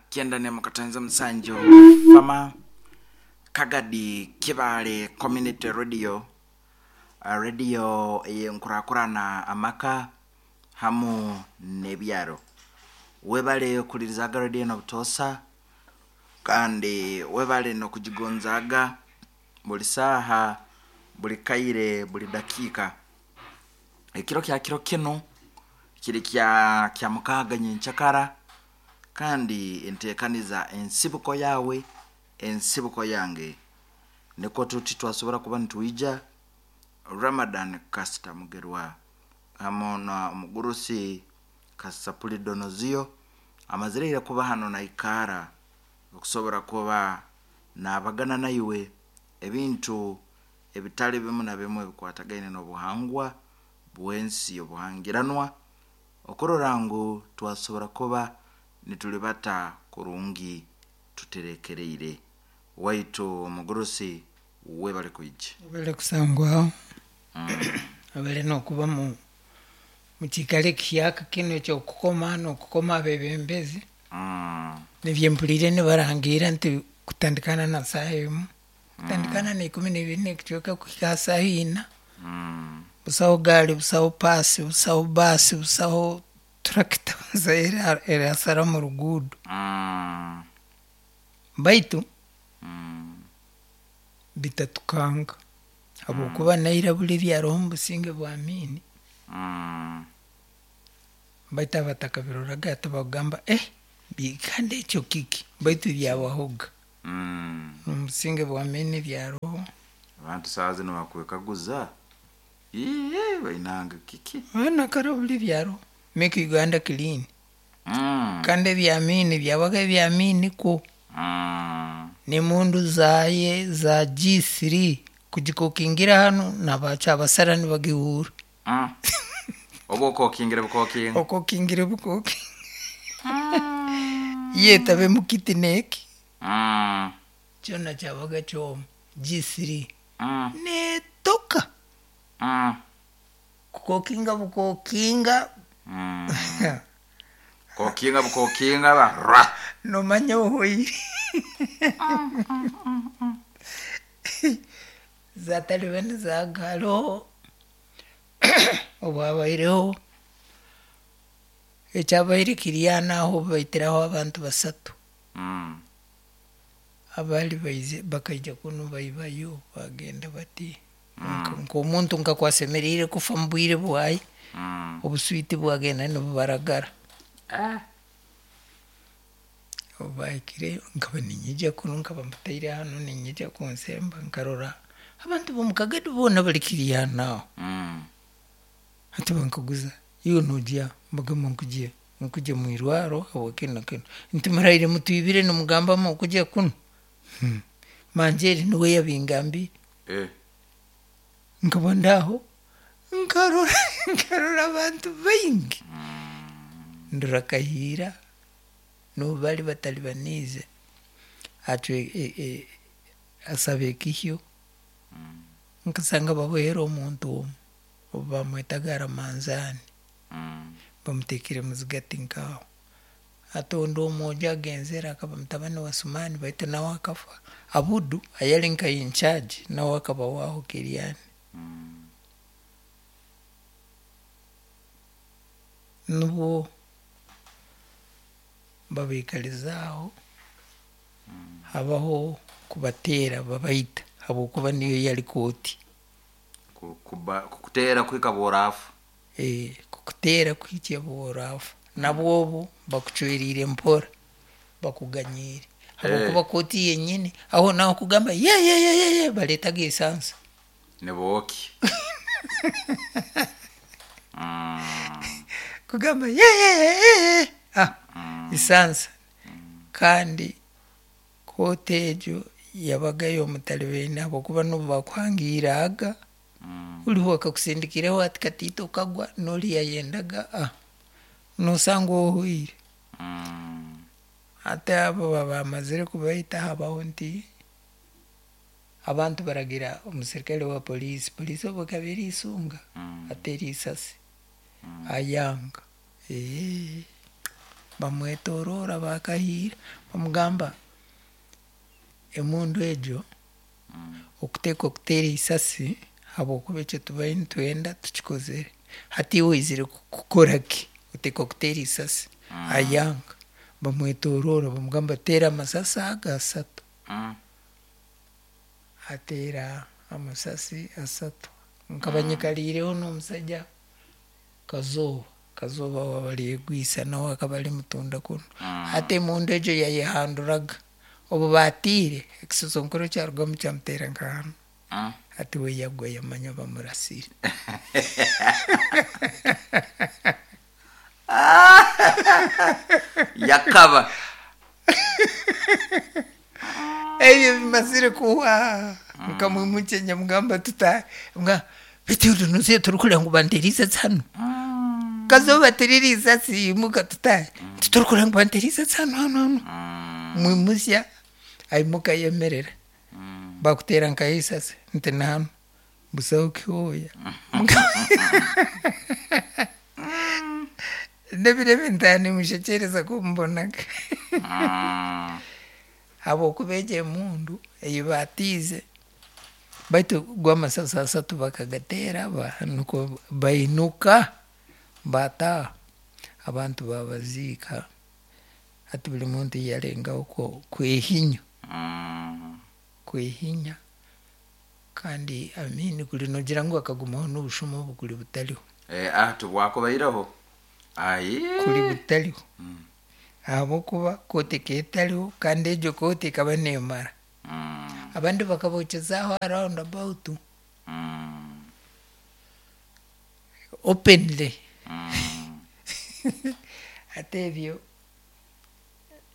Kyenda musanju Fama Kagadi Kibaale Community Radio, radio ey'enkurakurana amaka hamu n'ebyaro. Webale kuhulirizaga radio enu obutoosa kandi webale n'okugigonzaaga buli saaha, buli kaire, buli dakiika. Ekiro kya kiro kinu kiri kya Kyamukaaga nyenkyakara kandi enteekaniza ensibuko yaawe, ensibuko yange. Nikwo tuti twasobora kuba nitwija Ramadan Kasita Mugerwa hamu na omugurusi Kasapuli Donozio amazire ira kuba hanu naikaara okusobora kuba nabagana naiwe ebintu ebitali bimu na bimu ebikwatagaine n'obuhangwa bw'ensi obuhangiranwa okurora ngu twasobora kuba nitulibata kurungi tuterekereire. Waitu omugurusi webale kwija. Webale kusangwaho, webale n'okuba mu kiikaro ekihyaka kinu eky'okukoma n'okukoma abebembezi. Nibyo mpuliire nibarangiira nti kutandikana na saaha emu, kutandikana na ikumi n'ibiri n'ekicweka kuhika ha saaha ina, busaho gaari, busaho paasi, busaho baasi, busaho turakita busaho erasara omu ruguudo. Baitu bitatukanga habwokuba naira buri ebyaroho omu businge bwa Amiini, baitu abatakabiroraga tibakugamba eh kandi ekyo kiki? Baitu byabahoga. Omu businge bwa Amiini byaroho. Abantu saaha zinu bakwekaguza, iiii bainange kiki? Boona kara buri byaroho, make Uganda clean. Kandi ebya Amiini byabaga ebya Amiini kwo. N'emundu zaye za G3 kugikokingira hanu nabakyabasara nibagihuura. Oba okokingire bukokinga. Okokingire bukokinga. Yetabe mukiti neki. Kyona kyabaga kyoma G3 netoka. Kukokinga bukokinga. Kokinga bukokinga ba ra. Nomanya ohoire. Zatalibanizaaga haroho obwabaireho ekyabaire kiri aho n'aho obu baitiraho abantu basatu. Abaali baizire bakaija kunu baibayo bagenda bati nk'omuntu nkaku asemeriire kufa omu bwire bwaye, obuswiti bwagenda nibubaragara. Obu bahikireyo nkaba niinyija kunu nkaba mbataire hanu niinyija kunsemba nkarora abantu b'omu Kagadi boona bari kiri hanu aho. Hati bankaguza, iwe nogya? Mbagamba nkugya nkugya mwirwaro habwa kinu na kinu. Nti muraire mutwibire nimugamba mukugya kunu? Manjeeri niwe yabingambiire. Nkaba ndi aho nkarora nkarora abantu baingi. Ndora Kahiira n'obu bari bataribaniize acwe asaba ekihyo, nkasanga babohere omuntu omwe obu bamwetaga Ramanzaani, bamuteekire muzigati nk'aho. Hati ondi omwojo agenzere akaba mutabani wa Sumani baitu nawe akafa. Abudu ayali nka incharge nawe akaba waaho Kiriani. Nubwo babaikaliza aho, habaho kubateera babaita habwokuba niyo yali kooti. Kukuteera kuhika obu oraafa. Kukuteera kuhikya obu oraafa. Nabwo obu bakucweriire mpora, bakuganyiire habwokuba kooti yenyini aho naaho kugamba ye ye ye ye baleetaga esansa. Nibookya. Kugamba ye ye ye ye ah esansa. Kandi kooti egyo yabaga y'omutalibaine habwokuba n'obu bakuhangiiraaga, oriho akakusindikireho ati katiito okagwa n'ori yayendaga ah nosanga ohoire. Hati abo bamazire kubaita habaho nti abantu baragira omusirikare wa police, police obu ekaba eri isunga ateera isasi ayanga. Bamwetoroora bakahiira bamugamba emundu egyo okuteekwa kuteera eisasi ahabw'okuba ekyo tubaire nitwenda tukikozire. Hati iwe oizire kukora ki? Oteekwa kuteera eisasi. Ayanga. Bamwetoroora bamugamba teera amasasi ago asatu. Ateera amasasi asatu. Nkaba nyikariireho n'omusaija Kazooba, Kazooba waaba aryegwisa nawe akaba ari mutunda kunu. Hati emundu egyo yayehanduraga. Obu baatiire, ekisosonkoro kyarugamu kyamuteera nka hanu. Hati we yagwa yamanya bamurasire. Yakaba. Ebyo bimazire kuhwa, nkamwimukya nyamugamba tutaahe. Mbwa beitu noza torikureeba ngu banteire eisasi hanu? Kazooba tiriri isasi imuka tutaahe. Nti torikureeba ngu banteire eisasi hanu hanu hanu? Mwimusya aimuka ayemerera. Bakuteera nkahi eisasi? Nti ni hanu. Busaho kihooya. N'ebiro ebi ntaaha nimushekyereza ku mbonaga. Ahabw'okuba egyo emundu ei baatiize, baitu go amasasi asatu bakagateera nikwo bainuka baataaha, abantu baabaziika. Hati buri muntu yarengaho kwehinya, kwehinya kandi Amin kuri noogira ngu akagumaho n'obushuma obu kuri butariho. Ah tibwakubaireho. Ayi. Kuri butariho. Ahabw'okuba kooti ekaba etariho kandi egyo kooti ekaba neemara. Abandi bakabookyeza aho aha round about openly. Hati ebyo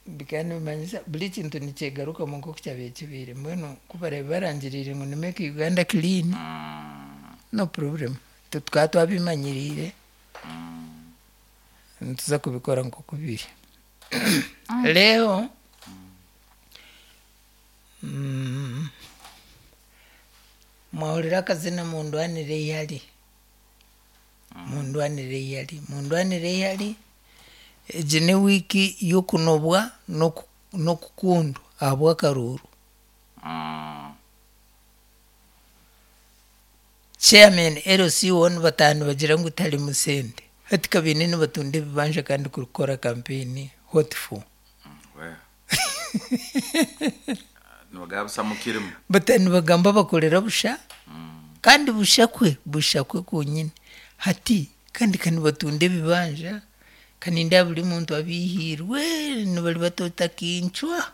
bikaba nibimanyisa buri ekintu nikyegarukamu nk'oku kyabaire kibaire. Mbwenu ku baraabe barangiriire ngu ni make Uganda clean, no problem. Itwe tukaba twabimanyiriire. Nituza kubikora nk'oku biri. Reero mwahurira akazina mundwanire eihari, mundwanire eihari, mundwanire eihari, egi n'ewiiki y'okunobwa n'okukundwa ahabw'akaruuru. Chairman LC one bataaha nibagira ngu tiharimu sente. Hati ka baine nibatunda ebibanja kandi kurikukora campaign what for? Bataaha nibagamba bakorera busha kandi busha kwe, busha kwe kwonyine. Hati kandi ka nibatunda ebibanja ka nindeeba buri muntu abiihiirwe nibari bati otakincwa.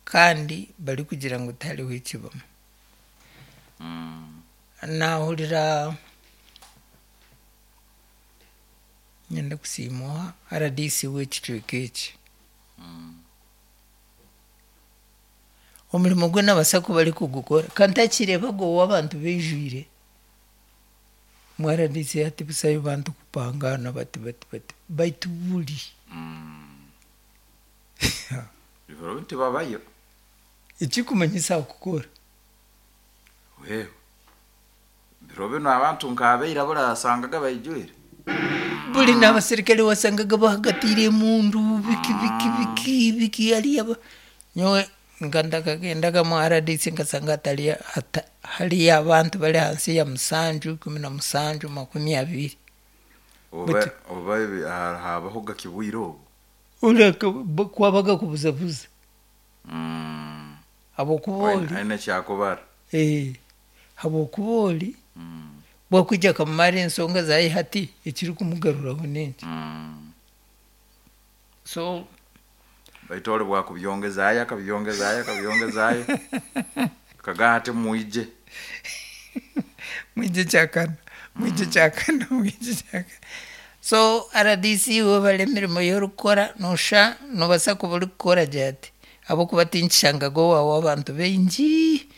Kandi barikugira ngu tihariho ekibamu. Naahurira niinyenda kusiima oha rdc w'ekicweka eki. Omurimo gwe naabaasa kuba arikugukora ka ntakireebaga ou abantu baijwire. Mbwenu rdc hati busayo bantu kupangaana bati bati bati baitu buri. Ebiro tibabayo. Ekikumanyisa kukora. Wewe. Biro binu abantu nk'abaira burasangaga baijwire. Buri n'abaserikare wasangaga bahagatiire emundu biki biki biki biki hariya nyowe nka ntakagendaga mu RDC nkasanga hatari hariyo abantu bari ahansi ya musanju, 17, 20. Oba oba habahoga ki bwire obu? Oreka kwabaga kubuzabuza. Habw'okuba ori. Aine eki akubara. Habw'okuba ori bwakwija akamumara ensonga zaaye hati ekirikumugaruraho n'enki? So. Baitu ori bwakubyongezaayo akabyongezaayo akabyongezaayo akagamba ati mwije. Mwije kyakana, mwije kyakana, mwije kyakana. So rdc webare emirimo ei orikukora noshusha nobaasa kuba orikukora gye hati ahabw'okuba tinkishangaga owaawe abantu baingi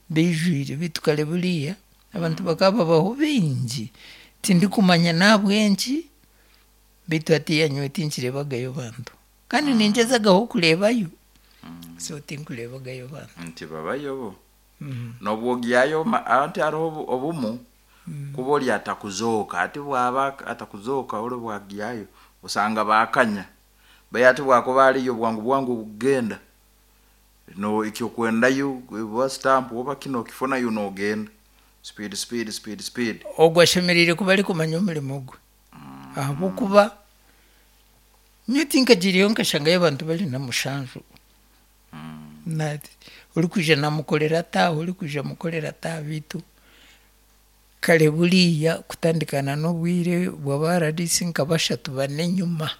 baijwire beitu kare buriya abantu bakaba babaho baingi tindikumanya n'ahabw'enki beitu hatiiya nyowe tinkireebagayo bantu kandi ningyezagaho kureebayo so tinkureebagayo bantu. Nti babayo bo. N'obu ogyayo anti hariho obumu. Kuba ori atakuzooka ati bwaba atakuzooka ori bwagyayo osanga bakanya baye ati bwakuba ariyo bwangu bwangu kugenda no ekyokwendayo oba stamp oba kino okifunayo nogenda speed speed speed speed. Ogwo ashemereire kuba arikumanya omurimo gwe ahabw'okuba nyowe tinkagiireyo nkashangayo abantu bari na mushanju. Orikwija namukorera ata, orikwija amukorera ata beitu kare buriya kutandikana n'obwire bw'aba RDC nka bashatu bana enyima,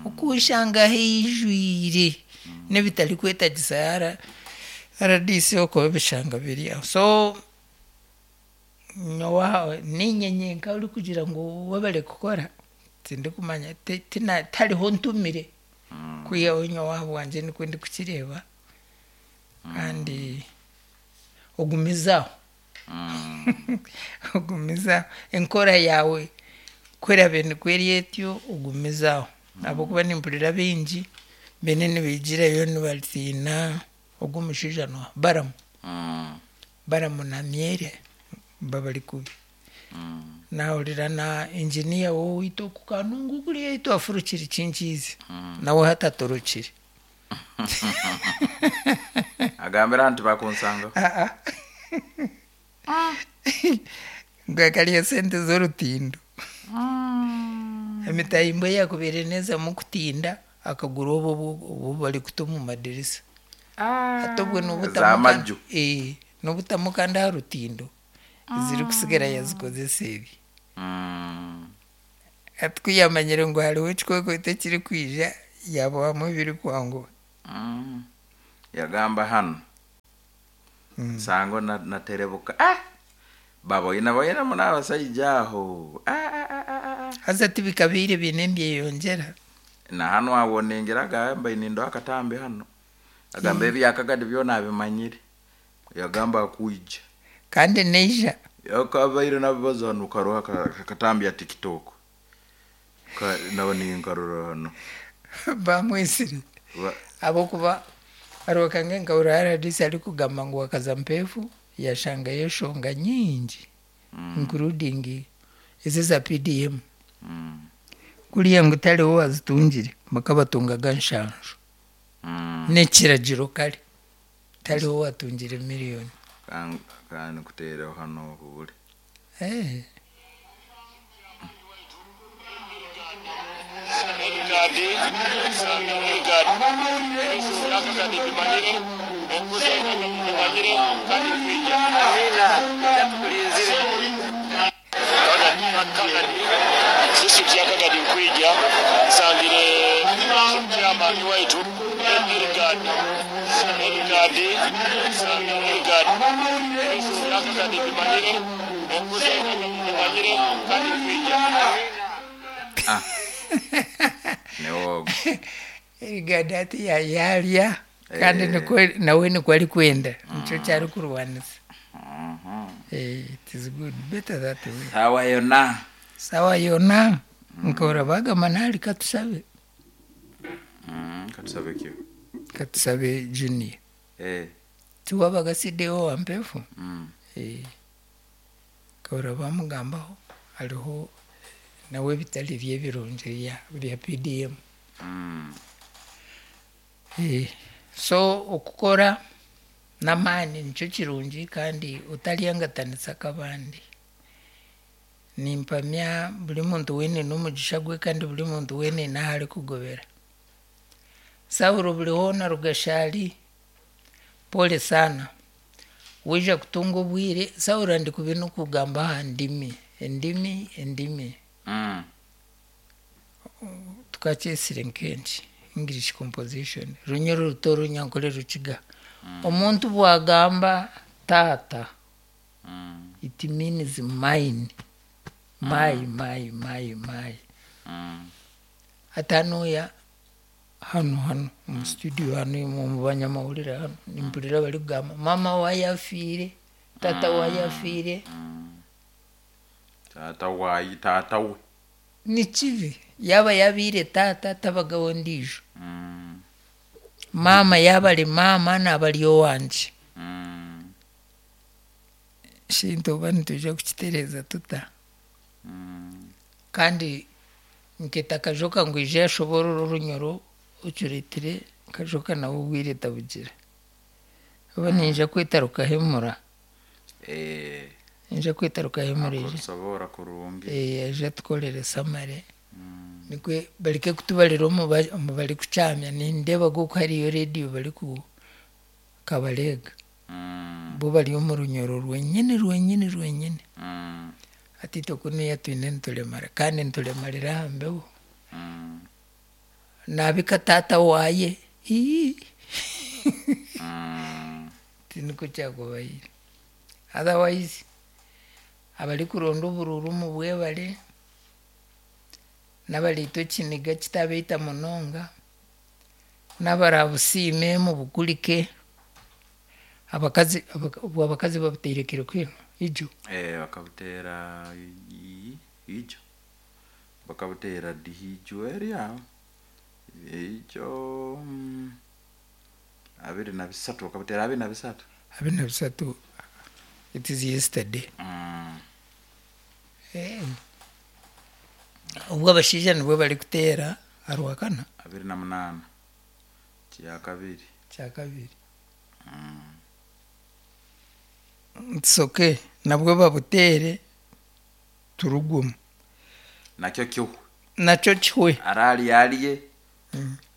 okushanga haijwire n'ebitarikwetagisa RDC okubishanga biri aho. So nyowe aho niinye nyenka orikugira ngu webare kukora, tindikumanya tihariho ntumire kwihaho nyowe ahabwangye nikwe ndikukireeba kandi ogumize aho, ogumize aho enkora yaawe ku eraabe nikwo eri etyo ogumize aho ahabw'okuba nimpurira baingi beene nibaigirayo nibatiina ogu omushaija nooha Balaam, Balaam na Myere babari kubi. Naahurira na engineer w'owaitu oku Kanungu kuriya ei twafurukire Kinkiizi nawe hati atorokire. Agambire nti bakunsangaho. Ngu akarya sente z'orutindo. Emitahimbwa ei yaakubaire neezamu kutinda akagura obwo obu barikuta omu madirisa. Hati obwo Ez'amaju. n'obutamu kandi aha rutindo ezirikusigara yazikozesa ebi. Hati ku yaamanyire ngu hariho ekikwekweto ekirikwija yaabohamu ebirikwanguha. Yagamba hanu nsango naterebuka ah baboine boine muno abasaija aho ah ah ah ah ah. Haza tibikabaire biine nibyeyongyera. Na hanu aho ningira agamba nindoho akatambi hanu agamba ebyakagadi byona abimanyire yagamba akwija. Kandi naija. Yakabaire nabibaza hanu karoho akatambi ya TikTok naba ninkarora hanu. Bamwesire ahabw'okuba hariho kange nkahurira RDC arikugamba ngu akaza Mpeefu yashangayo enshonga nyingi including ezi eza PDM. Kuriya ngu tariho owazitungire bakabatungaga nshanju n'ekiragiro kare tariho owatungire miriyoni. Kandi nkuteereho hanu ohuure. District ya Kagadi nkwija nsangire chairman waitu Edgard Edgard Edgard ya Kagadi bimanyire bimanyire kandi nkwija. Niwe Edgard ati yaarya kandi nawe nikwo arikwenda nikyo kyarikurwanisa. It is good better that way. Sawa yona. Sawa yona nkahurira bagamba nari katusabe. Katusabe ki? Katusabe Junior. Tiwabaga CDO wa Mpeefu? Nkahurira bamugambaho hariho nawe ebitari bye ebirungi bya PDM. So okukora n'amaani nikyo kirungi kandi otaryangatanisa nk'abandi. Nimpamya buri muntu weena aine omugisha gwe kandi buri muntu weena aine ahu arikugobera. Saulo buri hoona Rugashari, pole sana. Waija kutunga obwire, Saulo ndikubi n'okugamba aha ndimi, endimi, endimi. Tukakyesire nk'enki English composition, Runyoro ruto Runyankore Rukiga. Omuntu bwagamba taata, it means mine, my, my, my, my. Hati hanuuya hanu hanu omu studio hanu omu banyamahurire hanu nimpurira barikugamba maama waaye afiire, taata waaye afiire. Taata waaye, taata we. Ni kibi yaaba yabaire taata tabagaho ondiijo. Maama yaaba ari maama naaba ari owangye. Ekintu oba nitwija kukitereeza tuta? Kandi nkeeta Kajoka ngu aije ashoboorore Orunyoro okireetire Kajoka nawe obwire tabugira. Oba niinyija kweta Rukahemura. Niinyija kweta Rukahemura aije. Akusoboora kurungi. Aije atukorere summary nikwe bareke kutubarira omu omu barikukyamya. Nindeeba oku hariyo reediyo bariku Kabareega. Bo bari omu Runyoro rwenyini rwenyini rwenyini. Hati itwe kunuya twine nituremara kandi nituremarira aha mbeho. Naabika taata waaye ii Tinikwo kyakubaire. Otherwise abarikuronda oburuuru mubwebare, n'abariitwa ekiniga kitabaita munonga, n'abarabusiime mubukurike, abakazi obwo abakazi babuteire kiro kinu ijo? Bakabuteera ijo, bakabuteera dihi ijo eri aho, ijo 23, bakabuteera 23. 23, it is yesterday. Obwo abashaija nibwo barikuteera aharwakana? 28, kyakabiri. Kyakabiri. It's okay, nabwo babuteere turugwemu. Nakyo kihwe. Nakyo kihwe. Araarya arye,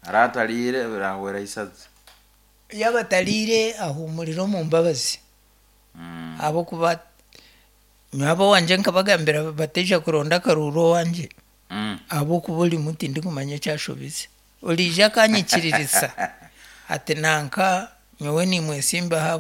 araatariire birahwera isazi. Yaaba atariire ahuumurire omu mbabazi ahabw'okuba nyowe ab'owangye nkabagambira bataija kuronda akaruuru owangye ahabw'okuba orimu tindikumanya eki ashobize. Oriija akanyikiririsa ati nanka nyowe nimwesimbaho.